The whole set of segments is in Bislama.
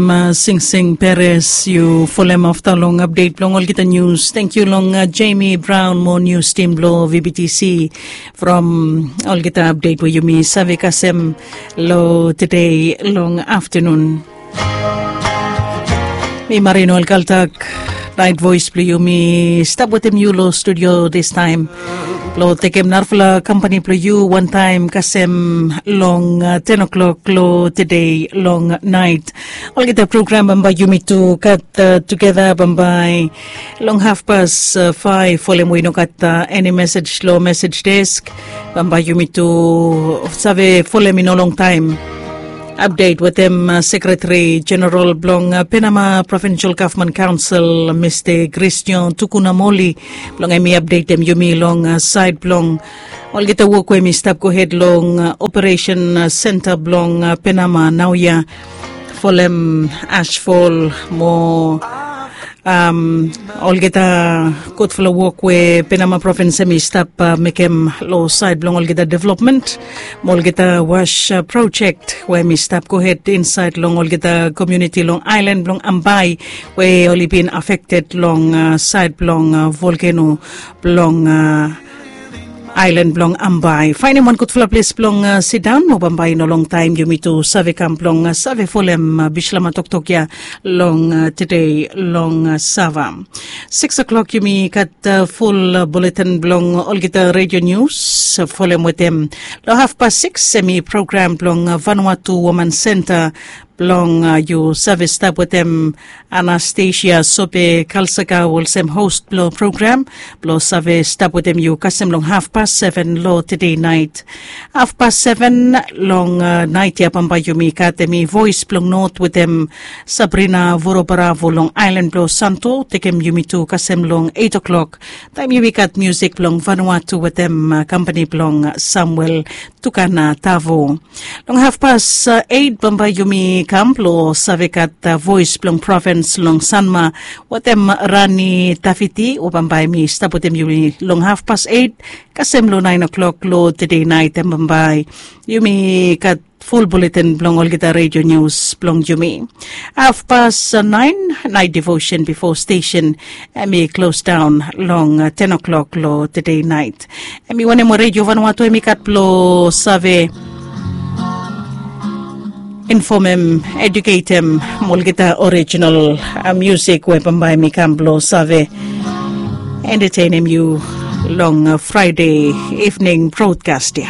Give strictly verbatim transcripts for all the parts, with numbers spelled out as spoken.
Singsing Peres, yu folem afta long apdet blong olgeta nius. Tenkyu long Jamie Brown mo nius tim blong V B T C from olgeta apdet we yumi save kasem long tede long aftanun. Mi Marino Alkaltak, Nait Voes blong yu, mi stap wetem yu long studio distaem blong tekem narafala kampani blong yu wantaem kasem long ten o'clock long tede long nait. Olgeta program bambae yumi tu gat tugeta bambae long hafpas faef. Folem we i no gat eni mesej long mesej desk, bambae yumi tu save folem i no longtaem. Apdet wetem sekretari jeneral blong Penama Provinsal Gavman Kaonsel, Mista Christian Tukunamoli, blong hem i apdetem yumi long saed blong olgeta wok we hem i stap gohed long operesen senta blong Penama naoia, folem asfol mo olgeta gudfala wok we Penama provins hem i stap mekem long saed blong olgeta developmen mo olgeta was projek we hem i stap gohed insaed long olgeta komuniti long aelan blong Ambae we oli bin afekted long saed blong volkeno blong aelan blong Ambae. Faenem wan gudfala ples blong sidaon mo bambae i no longtaem yumi tu save kam blong save folem bislama toktok ya long tede long sava. Sikis o'klok yumi gat ful buletin blong olgeta redio nius. Folem wetem long hafpas sikis hem i program blong Vanuatu Woman Senta blong yu save stap wetem Anastasia Sope Kalsaka olsem hos blong program blong save stap wetem yu kasem long hafpas seven long tede nait. Hafpas seven long nait ya bambae yumi gat hem i Voes blong Not wetem Sabrina Vorobaravo long aelan blong Santo, tekem yumi tu kasem long eit o'klok taem yumi gat musik blong Vanuatu wetem kampani blong Samuel Tukana Tavo. Long hafpas eit bambae yumi kam blong save gat Voes blong Provins long Sanma wetem Rani Tafiti, we bambae hem i stap wetem yumi long hafpas eit kasem long naen o'klok long tede nait. Hem bambae yumi gat ful buletin blong olgeta redio nius blong yumi. Hafpas naen, nait devosen bifo stesen hem i klosdaon long ten o'klok long tede nait. Hem i wanem we redio Vanuatu hem i gat blong save infomem, eduketem mo olgeta orijinal musik we bambae hem i kam blong save entetenem yu long Fraede ivning brodkas ya.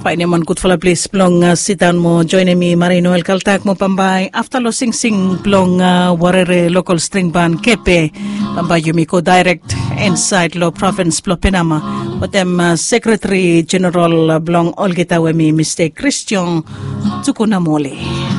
Faenem wan gudfala ples blong sidaon mo joenem mi Marino Elkaltak mo bambae afta long singsing blong Warere lokal string ban Kepe, bambae yumi go daerek insaed long provins blong Penama wetem sekretari jeneral blong olgeta we hem i Mista Christian Tukunamoli.